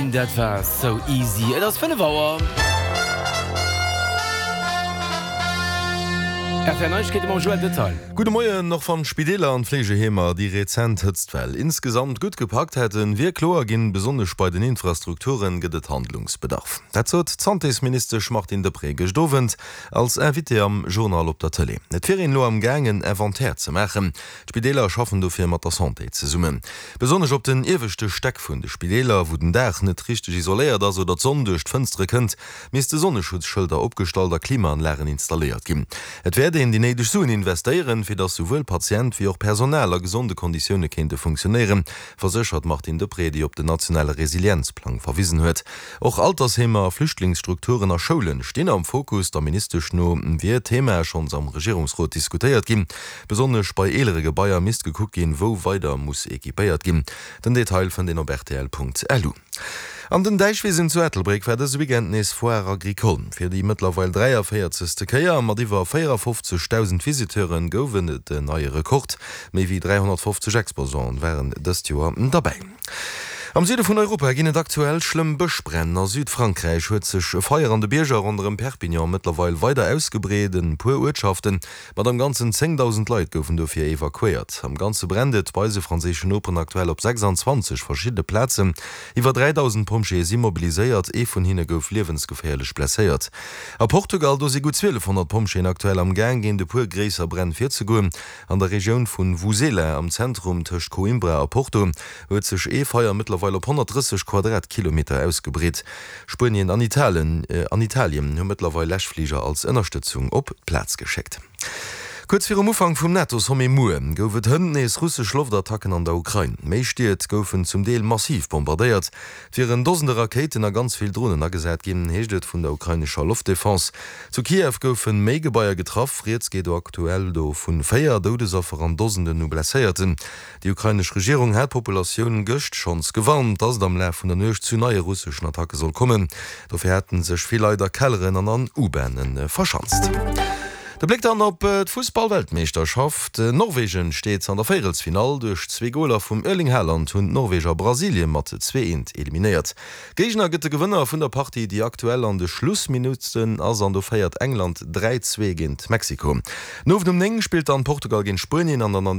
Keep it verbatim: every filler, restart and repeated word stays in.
Dream, dat war So Easy. Et ass fënnef Auer. R T L Neiegkeete mam Joël Detail. Gudde Moien. Och wann d'Spideeler an d'Fleegeheemer déi rezent Hëtztwell insgesamt gutt gepackt hätten, wier kloer ginn, besonnesch bei den Infrastrukture gëtt et Handlungsbedarf. Dat sot d'Santésministesch Martine Deprez gëscht Owend als Invitée am Journal op der Tëlee. Et wier een elo am Gaang en Inventaire ze maachen. D'Spideeler schaffen dofir mat der Santé zesummen. Besonnesch op den ieweschte Stäck vun de Spideeler, wou den Daach net richteg isoléiert ass oder d'Sonn duerch d'Fënstere kënnt, misste Sonneschutzschëlder opgestallt a Klimaanlagen installéiert ginn. Et wäert een déi néideg Suen investéieren, fir datt souwuel Patient wéi och Personal a gesonde Konditioune kéinte funktionéieren, verséchert d'Martine Deprez, déi op den nationale Resilienzplang verwisen huet. Och Altersheemer, Flüchtlingsstrukturen a Schoule stinn am Fokus. Der Ministesch no wier d'Thema schonns am Regierungsrot diskutéiert ginn. Besonnesch bei eelere Gebaier misst gekuckt ginn, wou weider muss equipéiert ginn. Den Detail fënnt een op rtl.lu. An den Däichwisen zu Ettelbréck war dëse Weekend nees Foire Agricole. Fir déi mëttlerweil dräiavéierzegste Kéier mat iwwer véierafofzegdausend Visiteure gouf et en neie Rekord. Méi wéi dräihonnertfofzeg Exposanten waren dëst Joer derbäi. Am Süde vun Europa ginn et aktuell schlëmm Bëschbränn. A Südfrankräich huet sech e Feier an de Bierger ronderëm Perpignan mëttlerweil weider ausgebreet. E puer Uertschafte mat am Ganzen zéngdausend Leit goufen dofir evakuéiert. Am Ganze brennt et bei eise franséischen Noperen aktuell op sechsanzwanzeg verschiddene Plazen. Iwwer dräidausend Pompjeeë si mobiliséiert, ee vun hinne gouf liewensgeféierlech blesséiert. A Portugal, do si gutt zwielefhonnert Pompjeeën aktuell am Gaang, géint e puer gréisser Bränn virzegoen. An der Regioun vun Vouzela, am Zentrum tëscht Coimbra a Porto, huet sech ee Feier mëttlerweil op honnertdrësseg Quadratkilometer ausgebreet. Spuenien an an Italien hu mëttlerweil Läschfliger als Ënnerstëtzung op d'Plaz geschéckt. Kuerz virum Ufank vum NATO-Sommet muer gouf et hënt nees russesch Loftattacken an der Ukrain. Méi Stied goufen zum Deel massiv bombardéiert. Et wieren Dosende Rakéiten a ganz vill Dronen agesat ginn, heescht et vun der ukrainescher Loftdefense. Zu Kiew goufe méi Gebaier getraff. Rieds geet do aktuell do vu véier Doudesaffer an Dosenden u Blesséierten. Déi ukrainesch Regierung hat d'Populatioun gëscht schonns gewarnt, datt et am Laf vun der Nuecht zu neie russeschen Attacke soll kommen. Dofir hätte sech vill Leit a Kelleren an an U-Bahne verschanzt. De Bléck dann op d'Fussballweltmeeschterschaft. Norwegen steet an der Véierelsfinall. Duerch zwee Goler vum Erling Haaland hunn d'Norweger Brasilien mat zwee eent eliminéiert. Géigner gëtt de Gewënner vun der Partie, déi aktuell an de Schlussminutten ass an do féiert England dräi zwee géint Mexiko. Den Owend um néng spillt dann Portugal géint Spuenien an dann an